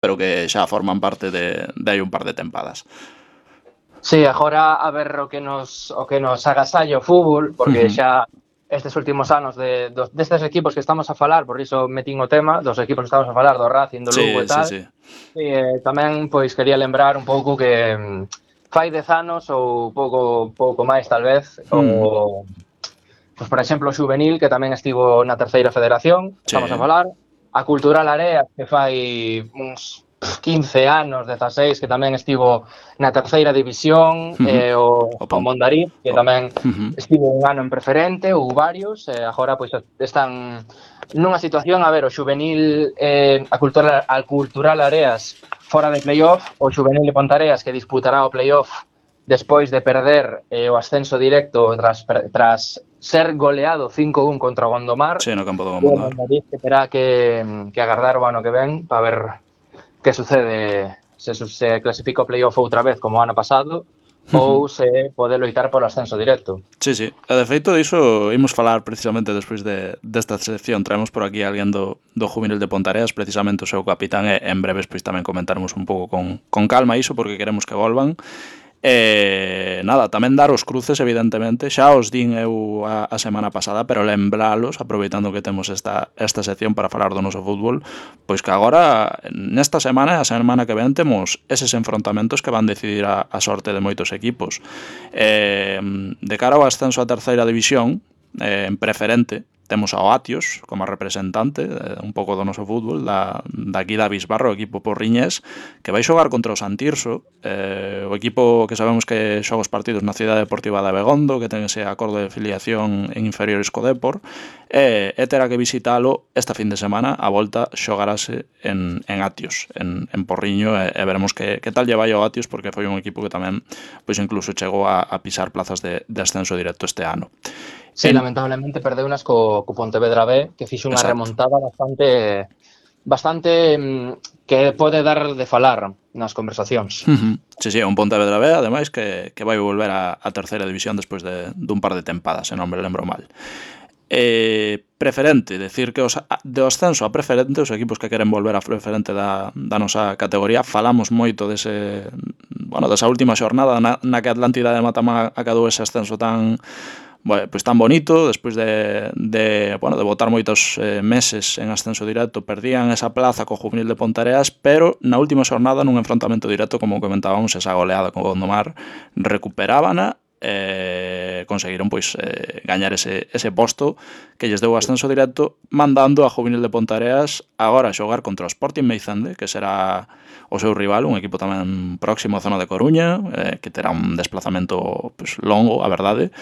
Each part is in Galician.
pero que xa forman parte de hai un par de tempadas. Sí, agora a ver o que nos agasalla o fútbol, porque xa estes últimos anos destes equipos que estamos a falar, por iso metín o tema, dos equipos que estamos a falar, do Racing, do Lugo e tal. Sí. Tamén, pois, quería lembrar un pouco que fai 10 anos ou pouco máis, tal vez, pois, por exemplo, o Xuvenil, que tamén estivo na terceira federación, estamos a falar, a Cultural Areas, que fai uns 15 anos, 16, que tamén estivo na terceira división, o Mondariz, que tamén estivo un ano en preferente, ou varios, agora pois están nunha situación, a ver, o Xuvenil, a Cultural Areas fora de playoff, o Xuvenil de Pontareas que disputará o playoff despois de perder o ascenso directo tras ser goleado 5-1 contra o Gondomar. Sí, no campo do Gondomar. O Mondariz que terá que agardar o ano que ven para ver que sucede, se clasifica o playoff outra vez como o ano pasado ou se pode loitar polo ascenso directo. Sí. E de feito diso imos falar precisamente despois desta sección. Traemos por aquí alguén do Juvenil de Pontareas, precisamente o seu capitán, e en breves pois tamén comentaremos un pouco con calma iso, porque queremos que volvan. Nada, tamén dar os cruces, evidentemente, xa os din eu a semana pasada, pero lembralos, aproveitando que temos esta sección para falar do noso fútbol, pois que agora, nesta semana e a semana que ven, temos eses enfrontamentos que van decidir a sorte de moitos equipos. De cara ao ascenso a terceira división, en preferente, temos ao Atios como representante un pouco do noso fútbol, daqui da Bisbarro, o equipo porriñés, que vai xogar contra o Santirso, o equipo que sabemos que xoga os partidos na Cidade Deportiva de Abegondo, que ten ese acordo de filiación en inferiores co Depor, e terá que visitalo esta fin de semana. A volta xogarase en Atios, en Porriño, e veremos que tal lle vai ao Atios, porque foi un equipo que tamén pois incluso chegou a pisar plazas de ascenso directo este ano. Sí, lamentablemente perdeu unas co Pontevedra B, que fixo unha remontada bastante que pode dar de falar nas conversacións. Sí, un Pontevedra B, ademais, que vai volver a terceira división despois dun par de tempadas, se non me lembro mal. Preferente, decir que do ascenso a preferente, os equipos que queren volver a preferente da nosa categoría, falamos moito desa última xornada na que a Atlántida de Matamá acadou ese ascenso tan bonito, despois de botar moitos meses en ascenso directo, perdían esa plaza co Juvenil de Pontareas, pero na última xornada, nun enfrontamento directo, como comentábamos, esa goleada con Gondomar, recuperábana, conseguiron gañar ese posto que lles deu ascenso directo, mandando a Juvenil de Pontareas agora a xogar contra o Sporting Meizende, que será o seu rival, un equipo tamén próximo á zona de Coruña, que terá un desplazamento longo, a verdade,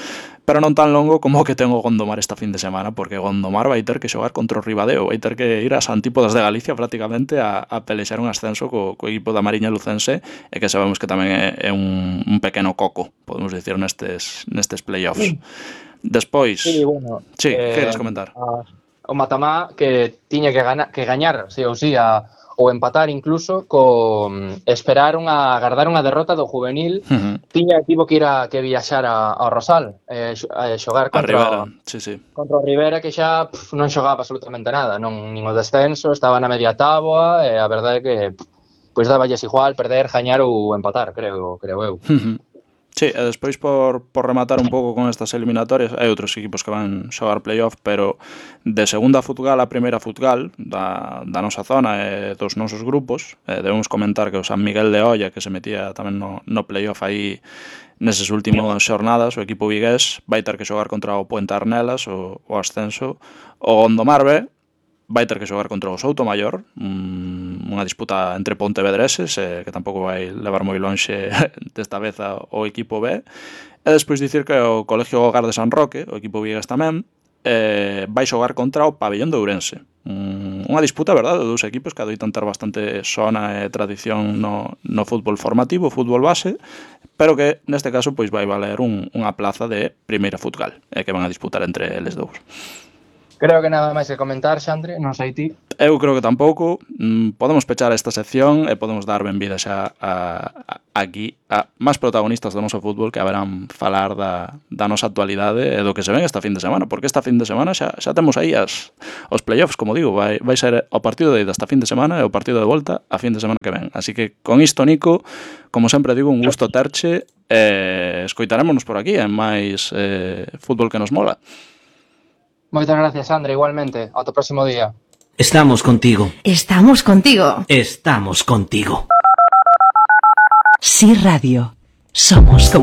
pero non tan longo como o que ten o Gondomar esta fin de semana, porque Gondomar vai ter que xogar contra o Ribadeo, vai ter que ir ás antípodas de Galicia prácticamente a pelexar un ascenso co equipo da Mariña Lucense, e que sabemos que tamén é un pequeno coco, podemos dicir, nestes playoffs. Despois, que queres comentar? O Matamá que tiña que gañar, sí ou sí, ou empatar incluso, agardar unha derrota do Juvenil. Tivo que viaxar ao Rosal, xogar contra o Rivera, que xa non xogaba absolutamente nada, nin o descenso, estaba na media táboa, e a verdade é que pois daballes igual perder, gañar ou empatar, creo eu. Sí, e despois por rematar un pouco con estas eliminatorias, hai outros equipos que van xogar playoff, pero de segunda Futgal a primeira Futgal da nosa zona e dos nosos grupos, debemos comentar que o San Miguel de Olla, que se metía tamén no playoff aí neses últimos xornadas, o equipo vigués vai ter que xogar contra o Puente Arnelas, o ascenso. O Gondomar B vai ter que xogar contra o Soutomaior, unha disputa entre pontevedreses, que tampouco vai levar moi lonxe desta vez o equipo B. E despois dicir que o Colegio Hogar de San Roque, o equipo vigués tamén, vai xogar contra o Pabellón de Ourense. Unha disputa, verdade, de dous equipos que adoitan ter bastante sona e tradición no fútbol formativo, fútbol base, pero que neste caso pois vai valer unha plaza de primeira Futgal, que van a disputar entre eles dous. Creo que nada máis que comentar, Xandre, non sei ti. Eu creo que tampouco. Podemos pechar esta sección e podemos dar benvida xa aquí a máis protagonistas do noso fútbol que haberán falar da nosa actualidade e do que se ven esta fin de semana, porque esta fin de semana xa temos aí os playoffs, como digo, vai ser o partido de ida esta fin de semana e o partido de volta a fin de semana que ven. Así que con isto, Nico, como sempre digo, un gusto terche e escoitarémonos por aquí en máis fútbol que nos mola. Moitas gracias, Sandra, igualmente. Ata o próximo día. Estamos contigo. Estamos contigo. Estamos contigo. Sí Radio. Somos